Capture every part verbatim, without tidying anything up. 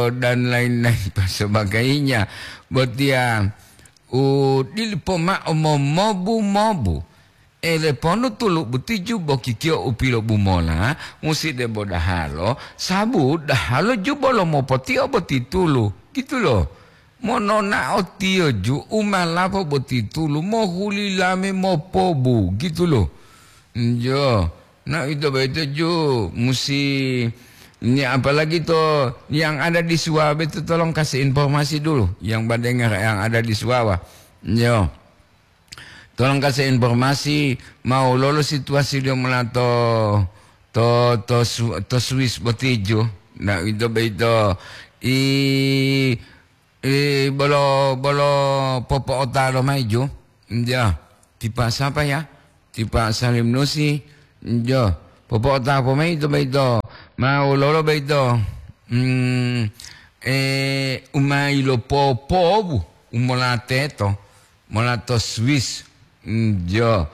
dan lain-lain pasabagainya. Botiya u dilipo ma'o momobu-mobu. Ele ponu tulu butiju bokikiyo u pilobumola, musi debo dahalo, sabu dahalo ju bolo mopotio boti tulu, gitu lo. Mononao tiyo ju u malapo boti tulu, mohuli lame mopobu, gitu lo. Njo, na ito boyito ju musi, ni apalagi to yang ada di Suwabe itu tolong kasih informasi dulu, yang badengar yang ada di Suwawa. Njo. Tolong kasih informasi, mau lolo situasi dia mula to, to, to, Su-, to Swiss botiju. Na ito boyito, i, i, bolo, bolo popo'otalo mayi ju. Njo. Tipa siapa ya? Tipa Salim Nusi. Njo. Popo'ota po mayi ito boyito. Mau lolo boyito. Hmm, eh, umai lo popobu. Umolateto. Mola to Swiss. Njo.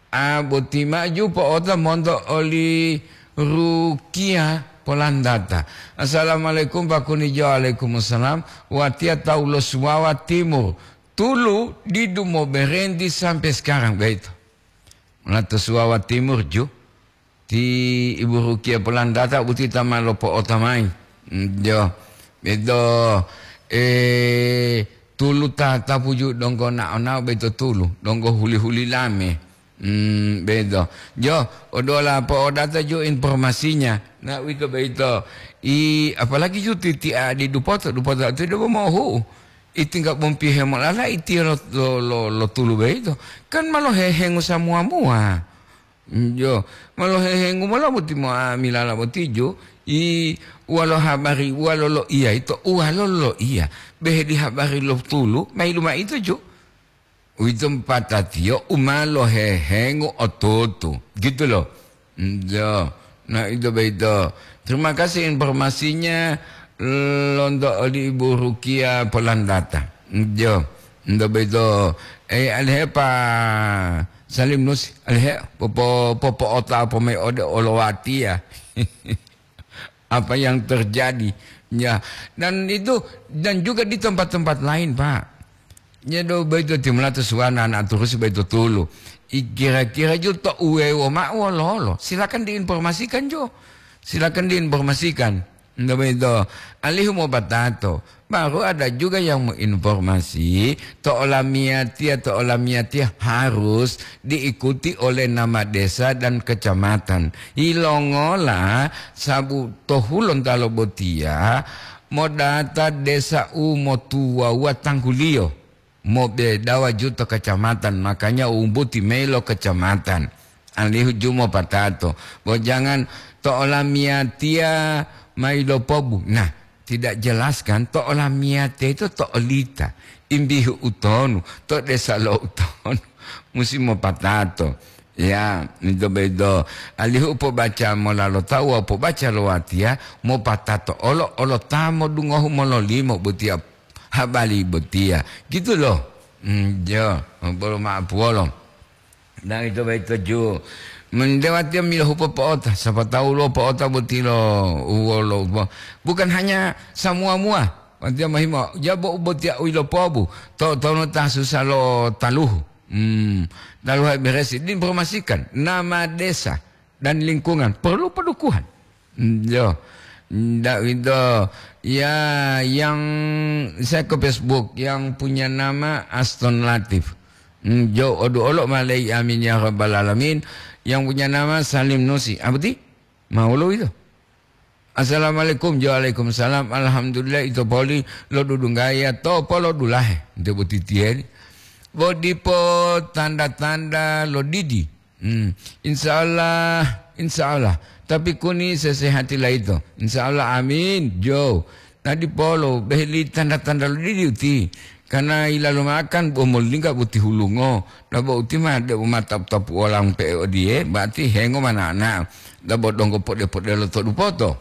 A boti maju po'ota monto oli Rukia polandata. Assalamualaikum Pak Kunijo. Waalaikumsalam. Watiya tawu lo Suwawa Timur. Tulu didu moberenti sampai sekarang begitu. Mola to Suwawa Timur ju. Ti Ibu Rukia polandata boti ta ma lopo'ota mayi. Mm, jo. Bedo, eh, tulu tatapu ju donggo nao-nao beto tulu, donggo huli-huli lame. Mm, bedo. Jo, odola po'odata ju informasinya. Na uwito boyito. I, apalagi ju titi adi dupoto, dupoto itu dia mohu. Itingga bompi hemolala itiyo lo, lo, lo, lo tulu boyito. Kan ma lohehengu samua-mua. Jo, ma lohehengu mola boti mo'amilala boti jo, i walo habari, walo loiya ito, walo loiya. Behe di habari lo tulu, mailu mao ito jo. Uwito patatiyo u ma lohehengu otutu. Gitu lo. Jo, na ito boyito. Terima kasih informasinya lonto oli Ibu Rukia Polandata. Jo, ento boyito, eh, alihe pa Salim Nusi, alihe popo-, popo'ota po mayi ode olowatiya. Apa yang terjadi? Ya, dan itu, dan juga di tempat-tempat lain, Pak. Nyedo boyito timulato suwana na turusi boyito tulu. I kira-kira ju to uwewo ma'o wololo. Silakan diinformasikan jo. Silakan diinformasikan. Nto boyito, alihu mopatato. Baru ada juga yang menginformasi, to olamiyatiya, to olamiyatiya harus diikuti oleh nama desa dan kecamatan. Yilongola sabu to hulontalo botiya, modata desa u motuwawuwa tangguliyo. Mobedawa ju to kecamatan, makanya umbuti mayi lo kecamatan. Alihu ju mopatato. Bo jangan to olamiyatiya mayi lopobu. Nah, tidak jelas kan? To olamiyatiya itu to olita. Imbihu utonu, to desa lo utonu. Musi mopatato. Ya, ito boyito. Alihu pobaca mola lo tawu wawu pobaca lo watiya, mopatato olo, olo ta modungohu mololimo botiya habari botiya. Gitu loh. Hmm, jo, bolo ma'apuwolo. Dan ito boyito ju. Mendewatiya milohupo po'ota, sapa tawu lo po'ota boti lo uwolo. Bukan hanya samua-mua. Watiya mohimo, jabo u botiya u yilopobu. To, tono ta susa lo taluhu. Hmm, taluhu beresi. Diinformasikan nama desa dan lingkungan perlu pendukungan. Yo, ndak itu. Ya, yang saya ke Facebook, yang punya nama Aston Latif. Hmm, jo, odu olo malai, amin ya rabbal alamin. Yang punya nama Salim Nusi. Apa ti? Mau lo itu? Assalamualaikum. Jo, waalaikumsalam. Alhamdulillah, ito poli lo dudunggaya to polo dulahe. Nte boti tieri. Bo dipo tanda-tanda lo didi. Hmm. Insya Allah, insya Allah. Tapi kuni sesehati laito. Insya Allah, amin. Jo. Nadi polo, beheli tanda-tanda lo didi uti. Karena ilalo makan, bo molingga boti hulungo. Dabo uti ma, debo ma tapu-tapu olang pe odiye, berarti hengo manana. Dabo donggo pode-pode lo todu poto.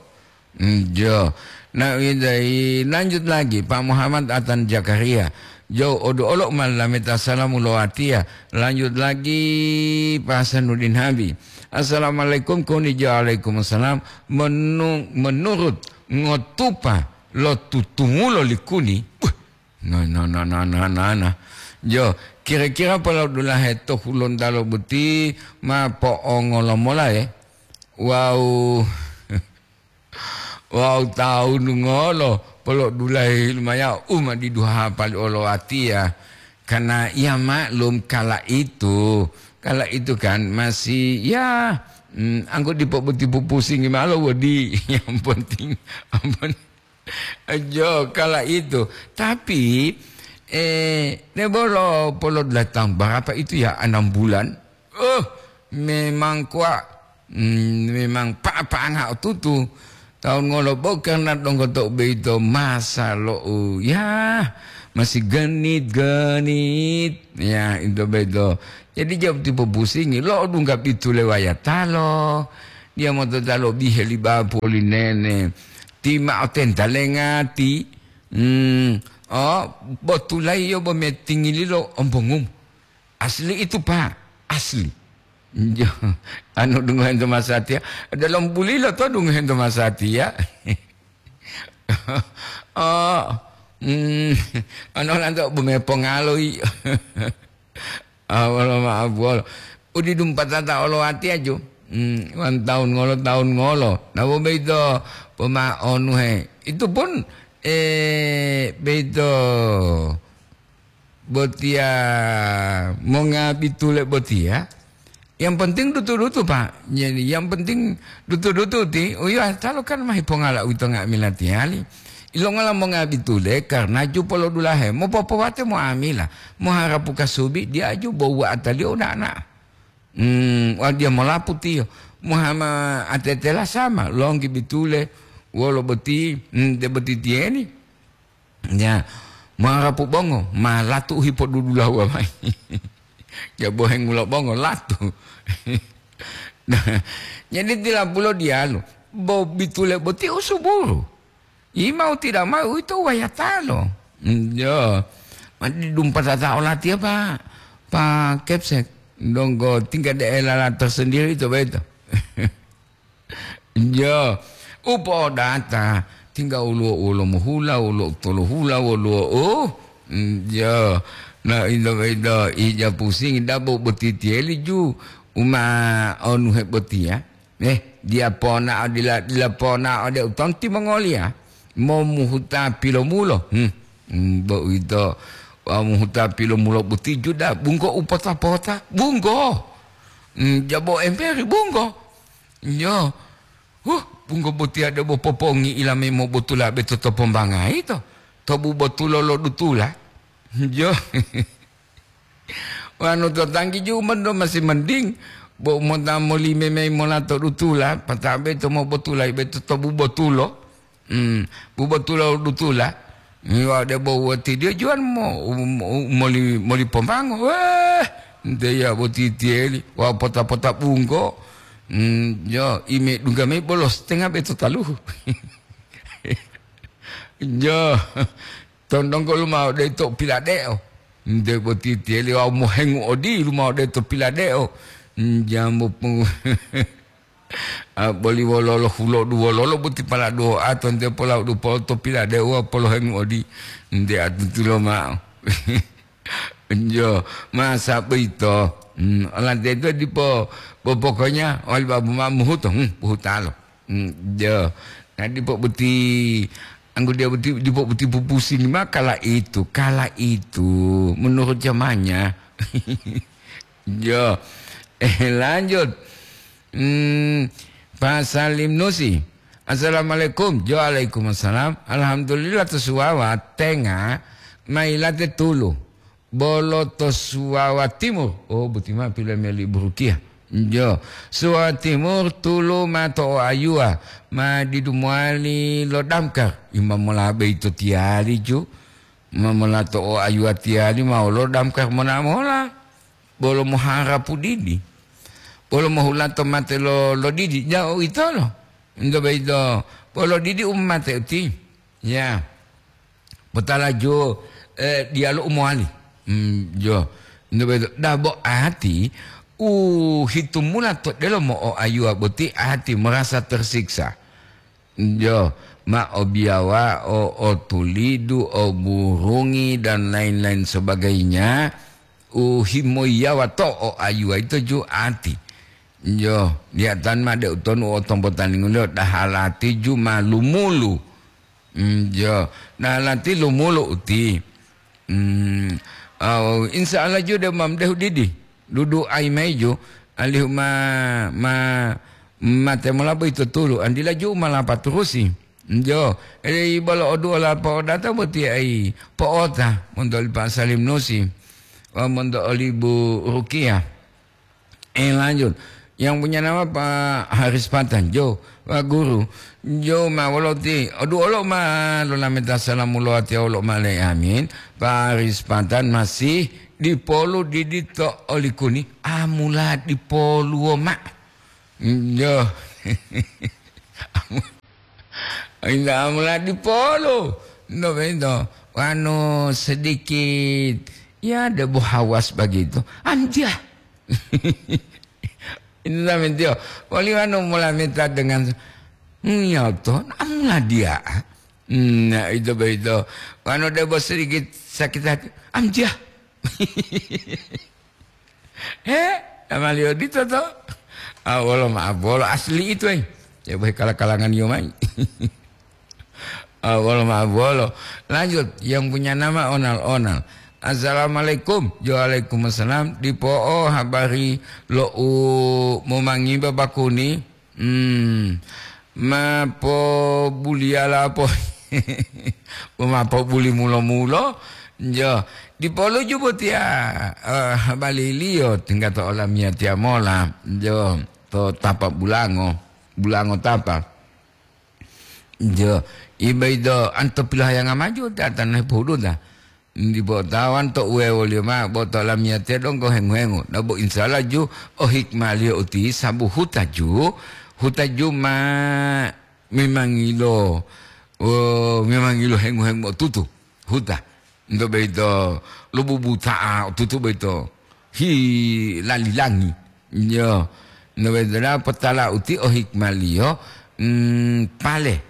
Hmm, jo. Na, idai, lanjut lagi, Pak Muhammad Atan Zakaria. Jo, odu olo malameta salamu lo watiya. Lanjut lagi, Pak Hasanuddin Habi. Assalamualaikum, kuni jo, waalaikumsalam. Menu-, menurut ngotupa lo tutumulo likuni. Buh, no, no, no, no, no, no, no. Jo, kira-kira polo dulahe to Hulontalo boti ma po'ongolo mola, e? Wau, wau taunu ngolo polo dulahe lumaya u ma diduha pali olo atiya. Karena ya maklum kala itu, kala itu kan masih ya, mm, anggo dipo boti pupusingi malo wodi. Yang penting, ampun. Jo, kala itu. Tapi, eh, ne bolo polo datang berapa itu ya, enam bulan? Oh, memang kuat. Hmm, memang pa-, pangga tutu. Taun ngolo bo karena donggo to beito masa lo, oh, ya, masih genit-genit. Ya, itu beito. Jadi jawab tipe pusingi, lo dungga pitu lewaya talo. Dia mau talo bihe li bapu li nene. Ti ma'o tenta lengati. Hmm. Oh, botulai yo bo metingili lo ombongum. Asli itu, Pak. Asli. Jo, anu dungohento masatiya. Dalam bulilo to dungohento masatiya. Oh, hmm. Anu lanto bu mepongaloi. Ah, wolo ma'o buwolo. Udi dumpatata olo wati aju. Hmm, wan taun ngolo, taun ngolo. Nabo beito poma onuhe. Itu pun, eh, beito botiya monga bitule botiya. Yang penting dutu-dutu, Pak. Jadi, yang penting dutu-dutu ti, uyo talo kan mahi pongala uwito nga'amila tiyali. Ilongola monga bitule karena jupo lo dulahe, mopopowate mo'amila, moharapu kasubi, dia aju bo wa'ataliyo uda'a-da'a. Hmm, watiya molapu tiyo, mohama atetela sama, longgi bitule, wolo boti, hmm, de boti tiyeni. Ya, moharapu bongo, ma latu u hipodudulahuwa mayi. Ya, bohengulo bongo, latu. Nah, jadi tilapulo diyalu, bo bitule boti usuburu. Imau tidak mau, uwito wayatalo. Hmm, yo. Mati dumpatata olatiya, Pak. Pak Kepsek. Donggo tingkat daerah tersendiri itu, beto. Jo, upo'odata, tingga woluwo, woluwo mohula, woluwo tolo hula, woluwo, oh, mm, jo. Na indo-indo ija pusingi dabo boti tiyeli ju, uma onuhe botiya. Eh, dia pona dila, dila pona ode utonti mongoliya. Momuhuta pilomulo. Hmm. Hmm, bo uwito, wawu muhuta pilomulo boti juda, bunggo upota-pota, bunggo. Hmm, jabo emperi, bunggo. Yo. Huh, bunggo botiya debo popongi ilame mobotula beto to pombangai to. To bubotulo lo dutula. Yo. Wanu to tanggi ju mendo masih mending. Bo mota molime mei mola to dutula, pata beto mobotula beto to bubotulo. Hmm, bubotulo dutula. Miwa debo watidiyo juwan mo, mo, moli, moli pombango. Weh, nte ya boti tiyeli, wa pota-pota bunggo. Hmm, yo, ime dungga mei bolo setengah beto taluhu. Jo, tondonggo lumao de to piladeo. Nte boti tiyeli wa mohengu odi lumao de to piladeo. Hmm, jambo pu-, Ah, boli wololo hulodu wololo boti paladuwo ato nte pola dupo to piladeuwa polohengu odi nte atutulo ma'o. Jo, masa boyito. Hmm, olanteto dipo, bo pokoknya wali babu ma muhuto, hmm, buhutalo. Hmm, jo. Na dipo boti, anggo dia boti, dipo boti pupusi ma kala itu, kala itu, menurut zamannya. Jo. Eh, lanjut. Hmm, Pak Salim Nusi. Assalamualaikum. Jo, waalaikumsalam. Alhamdulillah, to Suwawa tenga mailate tulu. Bolo to Suwawa Timur. Oh, buti ma pila meli burukiya. Jo. Suwawa Timur tulu ma to o ayuwa. Ma didu mowali lo damkar. Ima mola beito tiyali ju. Ma mola to o ayuwa tiyali ma lo damkar mona mola. Bolo moharapu didi, bolo mohulato mate lo, lo didi, ja uwitolo. Into boyito, bolo didi u mate uti. Ya. Potala jo, eh, diyalu u mowali. Hmm, jo. Into boyito, dabo ati u hitumula to delomo o ayuwa boti ati merasa tersiksa. Jo, ma obiyawa, o, o tulidu, o burungi, dan lain-lain sebagainya, u himoyiyawa to o ayuwa ito ju ati. Jo, liyatan ma de utonu o tombotalinguliyo dahalati ju ma lumulu. Mm, jo, dahalati lumulu uti. Mm, au, insya Allah ju de ma mdehu didi. Dudu ai maiju, alihu ma, ma, mate mola boyito tulu, andila ju ma lapaturusi. Jo, ede bolo oduola po'odata boti ai po'ota monto oli Pak Salim Nusi, wawu monto oli Bu Rukiah. Eh, lanjut. Yang punya nama Pak Haris Patan, jo, Pak Guru, jo ma woloti, oduolo ma lolameta salamu lowatiya wolo ma le amin. Pak Haris Patan masih dipolu didi to olikuni, amula dipoluwo ma. Jo. Inda amula dipolu. No bento. Wanu sedikit, ya, debo hawas begitu. Anjah. Inda mentio. Wali wanu mula minta dengan, hmm, ya to, amula dia. Nah, itu begitu. Wanu debo sedikit sakit hati. Anjah. He, namaliyo dito to. Ah, wolo maaf, wolo asli itu, eh. Ya, boh kala-kalangan yo mai. Ah, wolo maaf, wolo. Lanjut, yang punya nama Onal-Onal. Assalamualaikum. Waalaikumsalam. Dipo'o habari lo u momangiba bakuni. Hmm, ma pobuliyala po, ma pobuli mulo-mulo, jo, dipoluju botiya, eh, baliliyo tingga to olamiyatiya mola, jo, to tapa bulango, bulango tapa. Jo, ibaido anto pilohayanga maju tatan hepohuduta. Dipo tawan to uwewoliyo mao, bo to lamiyatiya donggo hengu-hengu. Nabo insya Allah ju o hikmaliyo uti sabu huta ju, huta ju ma memangilo, o, memangilo hengu-hengu otutu. Huta. Nto boyito lobubuta'a otutu boyito. Hi lalilangi. Yo. Nto boyito da potala uti o hikmaliyo, mm, pale.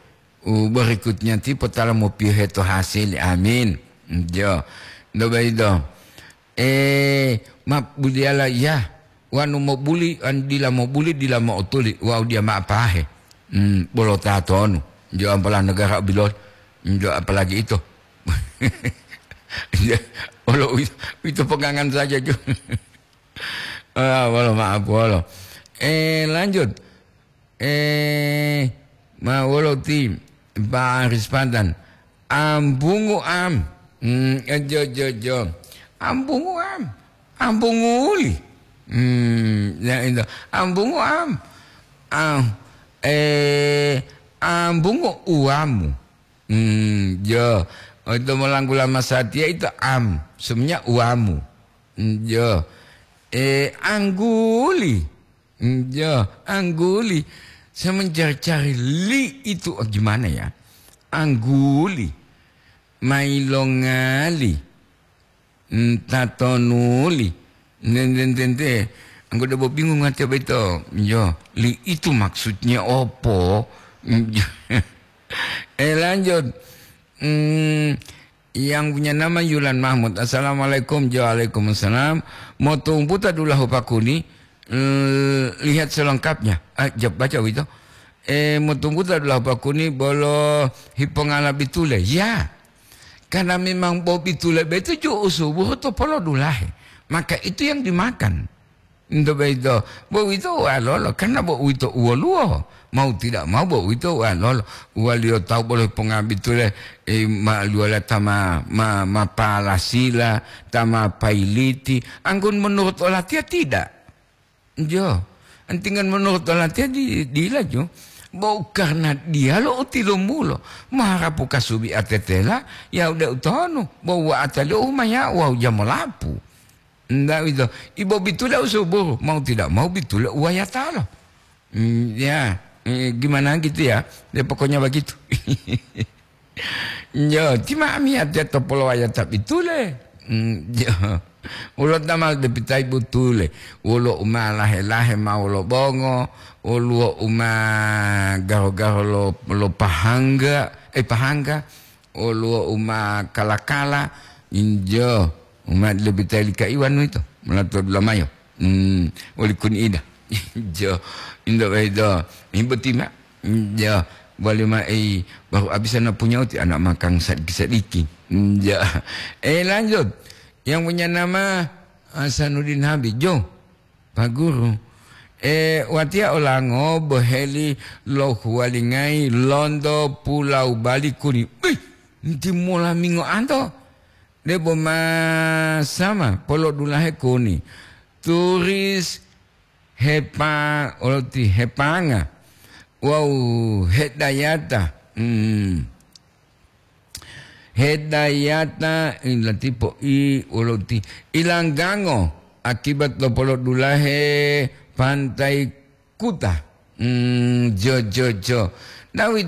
U berikutnya ti potala mopiyohe to hasil. Amin. Jo. Nto boyito. Eh, ma buliyala iya. Wanu mobuli, an dila mobuli, dila mo'otuli. Wawu diya ma apahe. Hmm, bolo tatonu. Jo ampala negara bilol. Jo apalagi ito. Olo uito, uito pegangan saja jo. Ah, wolo maaf, wolo. Eh, lanjut. Eh, ma wolo ti Pak Aris Pantan. Ambungu am. Hmm, eh, jo, jo, jo. Ambungu am. Ambungu uli. Hmm, ya itu. Ambungu am. Am, eh, ambungu uamu. Hmm, jo. Itu melanggula masatia itu am. Semuanya uamu. Hmm, jo. Eh, angguli. Hmm, jo, angguli. Saya mencari-cari li itu, oh, gimana ya? Angguli. Mailongali. Hmm, tatonuli. Nententente. Anggo debo bingung ate beto. Jo, li itu maksudnya opo? Hmm, jo. Eh, lanjut. Hmm, yang punya nama Yulan Mahmud. Assalamualaikum. Waalaikumsalam. Motumputa dulahu pakuni. Eh, lihat selengkapnya. Ah, jawab baca begitu. Eh, motumputa dulahu pakuni bolo hipongala bitule. Ya. Karena memang bo bitule betu ju usubuhu to polodulahe. Maka itu yang dimakan. Nto boyito, bo uwito uwalolo, karena bo uwito uwoluwo. Mau tidak mau, bo uwito uwalolo. Uwaliyo tawu bolo ponga bitule, eh, ma luwala ta ma, ma, ma palasila, ta ma pailiti. Anggun menurut olatiya tidak. Jo. Antingan menurut olatiya di, dila jo. Bo karena diya lo utilumulo. Maharapu kasubi atetela, ya udah utonu. Bo wa ataliyo umaya, wa ujamolapu. Ndak wito. Ibo bitule usubuhu, mau tidak mau bitule uwayatalo. Hmm, ya, eh, gimana gitu ya? Ya, pokoknya begitu. Yo, cima amiyatiya to polowayata bitule. Hmm, yo. Wolo tamal depitayi butule, wolo uma lahe-lahe ma wolo bongo, woluwo uma garo-garo lo, lo pahangga, eh, pahangga, woluwo uma kala-kala, injo, uma depitayi li kaiwanu ito, molato dulamayo. Hmm, woli kuni ida. Injo, indo bedo, ibu tima. Injo, wali ma, eh, baru abis ana punya uti anak makan sadiki-sadiki. Injo. Eh, lanjut. Yang punya nama Hasanuddin Habib, jo, Pak Guru. E, watiya olango boheli lo huwalingayi lonto pulau Bali kuni. Bih, nti mola mingo anto. Debo masama polodulahe kuni. Turis hepa-, oloti hepanga. Wau hedayata. Hmm. Hedayata, i, latipo i, wolo ti ilanggango akibat lo polodulahe Pantai Kuta. Hmm, jo, jo, jo. Nawi